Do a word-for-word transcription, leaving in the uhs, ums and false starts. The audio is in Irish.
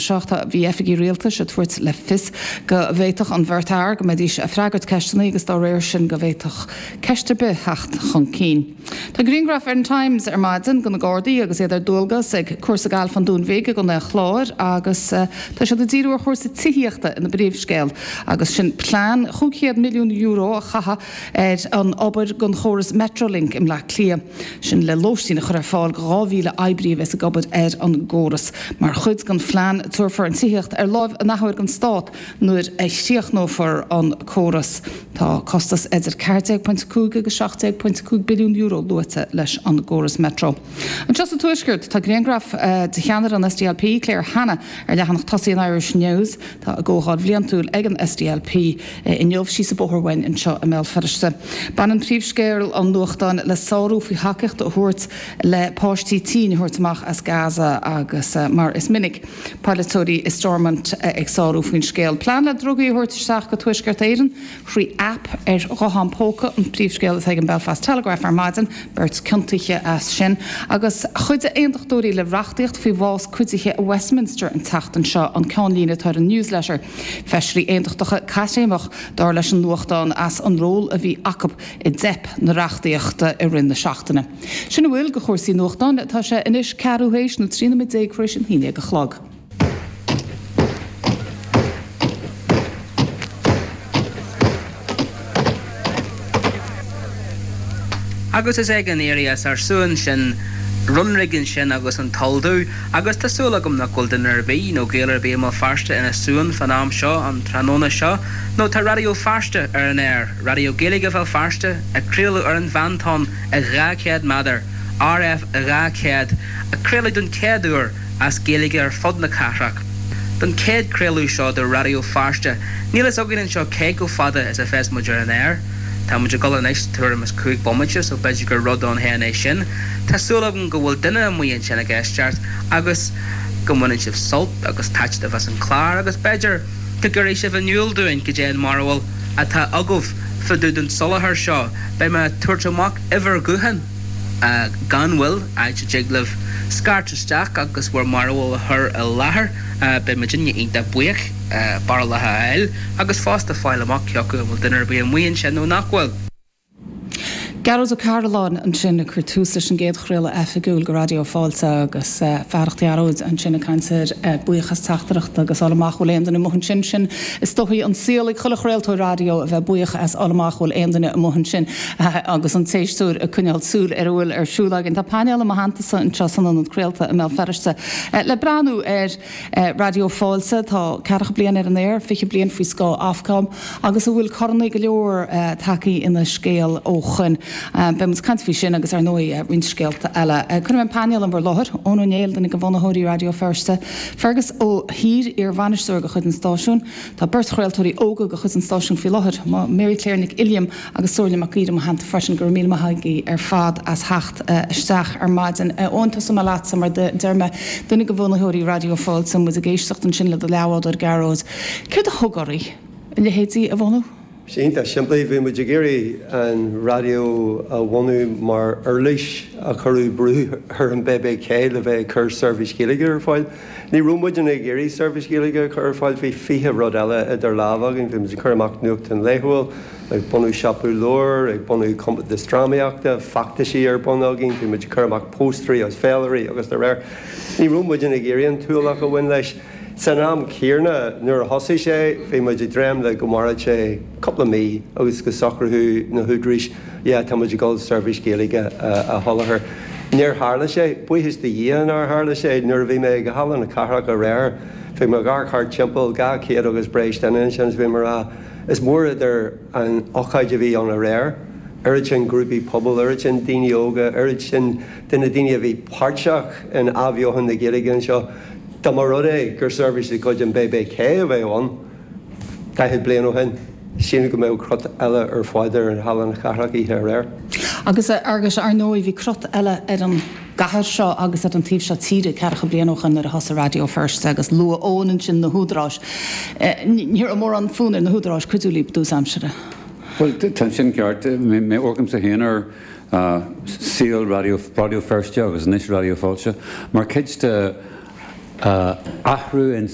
seacht bhí oifigigh rialtais ag tabhairt le fios go bhféadfadh an bheirt fhear go mbeidís ag freagairt ceisteanna agus dá réir sin go bhféadfadh ceist ar bith theacht chun cinn. Tá grianghraf ar an Times ar maidin de na Gardaí agus iad ar dualgas ag cúrsa gailf an Dúin Bhig i gContae an Chláir agus tá siad ag díriú ar chúrsaí tithíochta ina bpríomhscéal agus sin plean chúig chéad milliún euro a chaitheamh ar an obair don chóras Metrolink i mBleá Cliath. Sin le lóistín a chur ar fáil do dhá mhíle oibrí a bheas ag obair ar an gcóras. Mar chuid den phlean, tabharfar an tithíocht ar láimh an athuair don Stát nuair a chríochnófar an córas. Tá costas idir ceathair déag pointe cúig agus seacht déag pointe cúig billiún euro luaite leis an gcóras Metro. Anseo sa Tuaisceart, tá grianghraf de cheannaire an SDLP, Claire Hanna, ar leathanach tosaigh an Irish News. Tá a gcomhdháil bhliantúil ag an SDLP inniu síos an bóthar uainn anseo i mBéal Feirste. Baineann príomhscéal an nuachtáin le sárú faoi thacaíocht a thabhairt le páistí tinn a thabhairt amach as Gaza agus mar is minic polaiteoirí i Stormont ag sárú faoin scéal. Plean le drugaí a thabhairt isteach go Tuaisceart Éireann thrí aip ar ghuthán póca an príomhscéal atá ag an Belfast Telegraph ar maidin, beirt ciontaithe as sin agus cuideoidh aontachtóirí le reachtaíocht faoi bhás cuidithe i Westminster an tseachtain seo, an ceannlíne atá ar an News Letter. Feisirí aontachtacha caithréimeach, dar leis an nuachtán, as an ról a bhí acu i dteip na reachtaíochta i rith na seachtaine. Sin a bhfuil de chúrsaí nuachtáin. Tá sé anois ceathrú théis nó trí nóiméad déag tar éis an haon déag a chlog. Agus is ag an éirí as ár suan sin, Runrig ansin agus an Toll Dubh, agus tá súil agam nach bhfuil duine ar bith, nó Gael ar bith i mBéal Feirste ina suan fán am seo, an tráthnóna seo, nó tá Raidió Feirste ar an aer, Raidió Gaeilge Bhéal Feirste, ag craoladh ar an mheántonn ag dhá chéad méadar, RF dhá chéad, ag craoladh don chéad uair as Gaeilge ar fud na cathrach. Don chéad craoladh seo de Raidió Feirste, níl fhios againn anseo cé chomh fada is a bheas muid ar an aer. Tá muid ag dul anois tuairim is cúig bomaite so b'fhéidir gur rud ann féin é sin. Tá súil agam go bhfuil duine amuigh ansin ag éisteacht agus go mbaineann sibh sult agus taitneamh as an chlár agus b'fhéidir go gcuirfidh sibh in iúl dúinn cad é an mbarúil atá agaibh fá dtaobh den soláthar seo. Beidh mé ag tabhairt amach uimhir ghutháin gan mhoill, áit a dtig libh scairt isteach agus bhur mbarúil a chur i láthair. Beidh muidinne iontach buíoch. barúlacha a fháil agus fosta fáil amach cé acu an bhfuil duine ar bith amuigh ansin nó nach bhfuil. Gearóid Ó Cairealláin ansin ag cur tús leis an gcéad chraoladh oifigiúil de Raidió Fáilte agus fearacht Ghearóid ansin ag caint ar buíochas teachtaireachta agus fháil amach bhfuil aon duine amuigh ansin. Sin is dóigh an saol ag chuile chraoltóir raidió a bheith buíoch as fháil amach bhfuil aon duine amuigh ansin agus an t-éisteoir ag coinneáil súil ar a bhfuil ar siúl againn. Tá painéal i mo theanntasa anseo san ionad craolta i mBéal Feirste le breathnú ar Raidió Fáilte, tá ceathracha bliain ar an aer, fiche bliain faoi scáth Ofcom agus a bhfuil corannaí go leor tagtha ina scéal ó shoin. Beidh muid ag caint faoi sin agus ar ndóigh roinnt scéalta eile. Cuirfidh mé an painéal in bhur láthair, Eoin Ó Néill, duine de bhunaitheoirí Raidió Feirste, Fergus Ó hÍr, iar-bhainisteoir de chuid an stáisiúin. Tá beirt chraoltóirí óga de chuid an stáisiúin faoi láthair, Mary Claire Nic Uilliam agus Somhairle Mac Íre i mo theannta freisin. Go raibh míle maith agaibh ar fad as theacht isteach ar maidin. Eoin, tosóidh mé leatsa, mar deir mé, duine de bhunaitheoirí Raidió Fáilte, muid ag éisteacht ansin le do leathbhádóir Gearóid. Céard a thug oraibh a leithéidí a bhunú? Sé iontach simplí, bhí muid ag iarraidh an raidió a bhunú mar uirlis a chuirfeadh brú ar an BBK le bheith ag cur seirbhís Ghaeilge ar fáil. Ní raibh muidne ag iarraidh seirbhís Ghaeilge a chur ar fáil, bhí fiche rud eile idir lámha againn, bhí muid ag cur amach nuachtán laethúil, ag bunú siopa leabhar, ag bunú compántas drámaíochta, feachtaisí ar bun againn, bhí muid ag cur amach póstaerí agus féilirí agus dá réir. Ní raibh muidne ag iarraidh an t-ualach a bhain leis. San am céanna, nuair a thosaigh sé, bhí muid ag dréim le go mairfeadh sé cúpla mí agus go socródh na húdaráis, yeah, tá muid ag dul seirbhís Ghaeilge a sholáthar. Níor tharla sé. Buíochas do Dhia nár tharla sé. Nuair a bhí mé ag Halla na Cathrach aréir, bhí mé ag amharc thart timpeall, dhá chéad agus breis duine ansin is bhí mé ag rá, Is mór idir an ócáid a bhí ann aréir, oiread sin grúpaí pobail, oiread sin daoine óga, oiread sin de na daoine a bhí páirteach in athbheochan na Gaeilge anseo. Dá mba rud é gur seirbhís de chuid an BBK a bheadh ann daichead bliain ó shin, sílim go mbeadh crot eile ar fad ar Halla na Cathrach oíche aréir. Agus, a Fhearghuis, ar ndóigh, bhí crot eile ar an gcathair seo agus ar an taobh seo tíre ceathracha bliain ó shoin nuair a thosaigh Raidió Feirste agus luaigh Eoin ansin na húdaráis. Ní raibh mórán fonn ar na húdaráis cuidiú libh i dtús aimsire. Bhuel, tá sin ceart. Mé amharcaimse féin ar saol Raidió Feirste agus anois Raidió Fáilte mar chuid de Uh, athrú in